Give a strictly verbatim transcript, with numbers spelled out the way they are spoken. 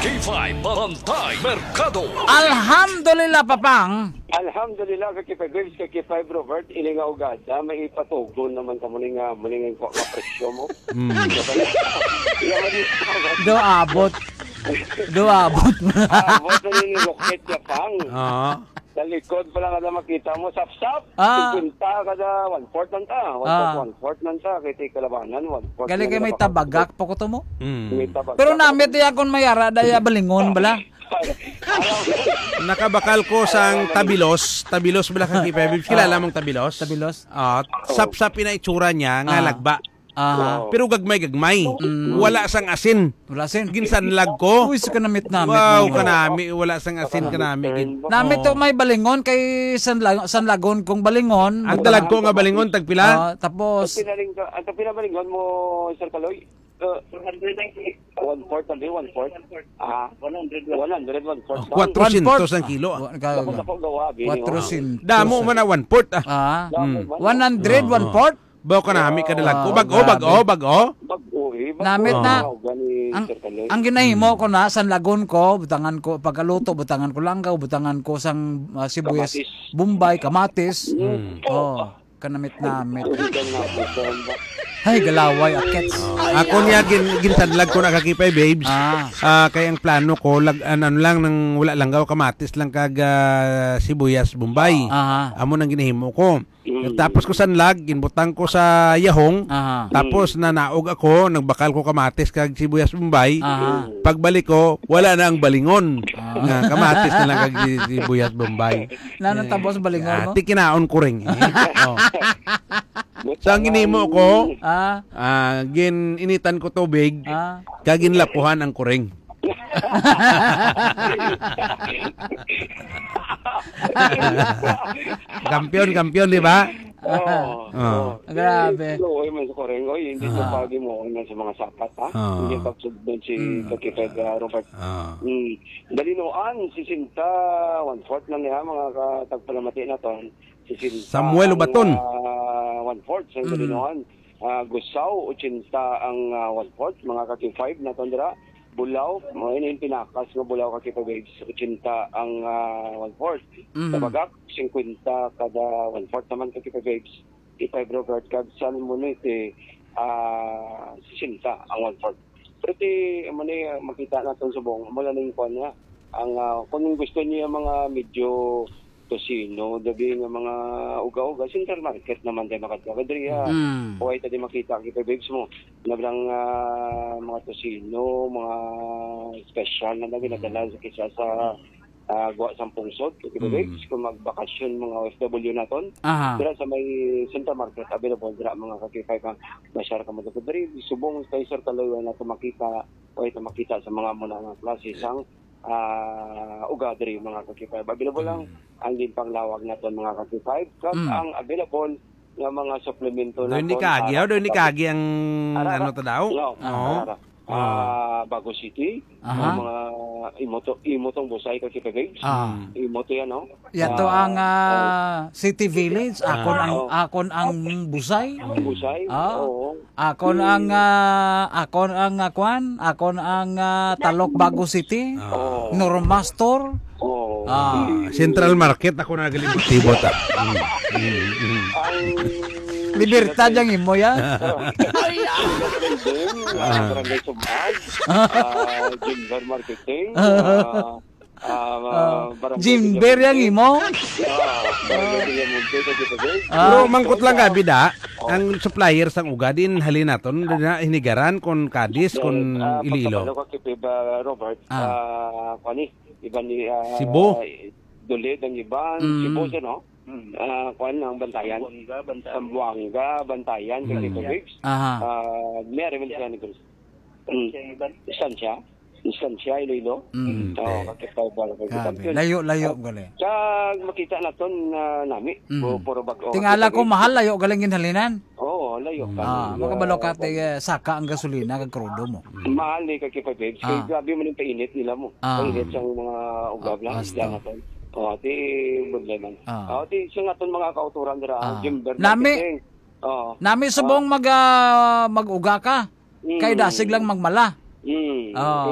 K five Bantay Merkado. Alhamdulillah, Papang. Alhamdulillah, ka K five Waves, ka K five Robert, ini nga ugada, may ipatugon naman ka muli nga, muli nga, nga presyo mo. Mm. Iya, mali. Do abot. Do abot. Abot na ni Rocket Japang. Ah. Sa likod pa lang kada makita mo, sapsap. Ah. Singkwenta kada one-fourth lang ta. One-fourth, Ah. one-fourth lang ta. Kay ti kalabanan, one-fourth Gali lang kay may kada tabagak pa ko to mo. Mm. May tabagak Pero pa namit ko. Iya kung may ara, daya balingon bala. Alam mo. Nakabakal ko sang tabilos. Tabilos bala ka K five Waves. Kilala Ah. mong tabilos? Tabilos? Ah, sapsap ina itsura niya nga Ah. lagba. Aha. Oo. Pero gagmay-gagmay. Mm. Wala sang asin. Wala sin. Ginsanlag ko. Uy, sa kanamit-namit Wow, mo. kanami. Wala sang asin, kanami. Gin- Namit to Oh. may balingon kay sanlag-, sanlagon kong balingon. Ang dalag ko nga balingon, tagpila? Ah, tapos Ang pinaling-, ang pinabalingon mo, Sir Kaloy? Uh, one-fourth, sabi, one-fourth. Ah, one hundred, one-fourth Oh, lang. kwatrosyentos One-fourth. ang kilo, ah. Wa-, ka-, Dako-dako gawa, bini, oh. Kwatrosyentos. Damo man na one-fourth, ah. Ah. Damo Mm. man, oh. One hundred, Oo, oo. one-fourth? Baw kanami ka dalag ko. Wow, Bag-o, grabe. bag-o, bag-o. Bag-o, eh. Bag-o Namit na. Ang, Sir Kaloy. ang ginahimo Mm. ko na, sanlagon ko, butangan ko, pagkaluto, butangan ko langgaw, butangan ko sang, ah, sibuyas, Kamatis. Bombay, kamatis. Mm. Mm. Oh, kanamit-namit. Butan na, butan ba? Ay, galaway, akits. Oh, ako niya, gin-, ginsanlag ko na ka K five Waves. Ah. Ah, kay ang plano ko, lag-, an-, ano lang, nang wala langgaw, kamatis lang kag, ah, sibuyas, Bombay. Aha. Amo nang ginahimo ko. Mm. Tapos ko sanlag, ginbutang ko sa yahong, Aha. tapos Mm. nanaog ako, nagbakal ko kamatis kag sibuyas Bombay. Aha. Pagbalik ko, wala na ang balingon. Ah. Nga kamatis na lang kag si-, sibuyas Bombay. Na, Eh, natapos balingon mo? ati kinaon ko ring. Oh. So, ang ginhimo ko, Ah. ah, gin-initan ko tubig, Ah. kag ginlapuhan ang kuring. Kampiyon, kampiyon, di ba? Oo, Oo. oo. Grabe. Luoy man sa kureng, oy, hindi Ah. sa pagi mo na sa mga sapat, ha? Ah. Hindi pagsugod si Mm. Kakiped, ah, Robert. Ah. Mm. Dalinuan, sesenta, one-fourth lang niya, mga ka-, tagpalamati naton. Sesenta Samuel ang, Ubaton. ah, one-fourth sa Mm. Dalinuan. Ah, Gusaw, ochenta ang, ah, one-fourth, mga ka-K five naton dira. Bulao, mao ini ang pinakas nga Bulao ka K five Waves, ochenta ang, ah, one-fourth. Mhm. Tabagak, singkwenta kada one-fourth naman ka K five Waves. K five Robert, kag Salmonete, ah, sesenta ang one-fourth. Pero ti, amo ni, ah, makita naton subong, amo lang ning kuwan niya. Ang, ah, kung gusto niya mga medyo tocino, dabi nga mga uga-uga, Central Market naman tayo makadto. Kadri, ah, Mm. huway ta di makita, kita babes mo. Nablang, ah, mga tocino, mga special na, na ginadala Mm. sa kisa sa, ah, Guwa sang Pungsod, kita Mm. babes, kung magbakasyon mga O F W naton. Aha. Dira sa may Central Market, available dira mga ka-K five, ha. Masyar ka mo diri, subong kay Sir Kaloy, wala na to makita, huway ta makita sa mga muna nga klase sang ah, uga diri, mga ka-K five. Available lang Mm. ang ginpanglawag naton, mga ka-K five, kag Mm. ang available nga mga suplemento Doon ni naton Kagi, para oh, doon ni sa Kagi ang Ara, ano ara. to daw? No, Oo. ara, ara. Ah. Ah, Bago City, Aha. ang mga imo to, imo tong busay, ka-K five Babes. Ah. Mm. Imo to yan, no? Yato Ah, ang, ah, ah, City Village, Ah. akon ang, Oh. akon ang busay. Ang busay, Ah. oo. Akon ang, ah, akon ang, ah, kwan, akon ang, ah, Talok Bago City, Ah. Oo. Norma Store. Oo. Ah. Ah, Central Market, ako na galibot-libot, ah. Mm, mm, mm. Ang Libertad ang imo, ya? Oo. Ang Ah. Barangay Sumag, ah, Jimber Marketing, Ah. ah, Ah, Ah, barangay Jimber Villamonte. Yang imo? Ah, barangay Villamonte, sa Jimber. Ah. Pero mangkot lang gabi da, Oh. ang supplier sang uga, din halin naton, din na Hinigaran, kon Cadiz, kon Ah, Iloilo. Pagkabalo ko kay Peba Robert, Ah. ah, kuwan ni, iban ni, ah, Cebu. Dulid ang iban, Mm. Cebu siya, no? Mm. Ah, kuwan ang Bantayan. Zamboanga, Bantayan. Zamboanga, Bantayan, Mm. kay Peba Biggs. Aha. Ah, may ariman siya ni Cruz. Mm. Distansya. Distansya, Iloilo. Mm. Oo, Mm. kakita ba, kakita Grabe. yun. Layo-layo, Ah, gali. Kag makita naton na nami, Mm. pu-, puro bag-o. Tingala ko, Kakita mahal, layo galing ginhalinan. Oo, layo Mm. pa. Ah, Yeah. makabalo ka, Oo. ti, eh, saka ang gasolina, kag krudo mo. Mm. Mahal ni kakita, babes. Ah. Kay grabe man yung painit nila mo. Ah. Painit sang mga ugab Ah, lang, basta. isda naton. Oh, ti problema. Ah. Oh, ti sa naton mga kauturan dira, Ah. Jimber Nami, Marketing. Oo. nami subong Ah. mag, ah, mag-uga ka. Mm. Kay dasig lang magmala. Mm. Oo. Ito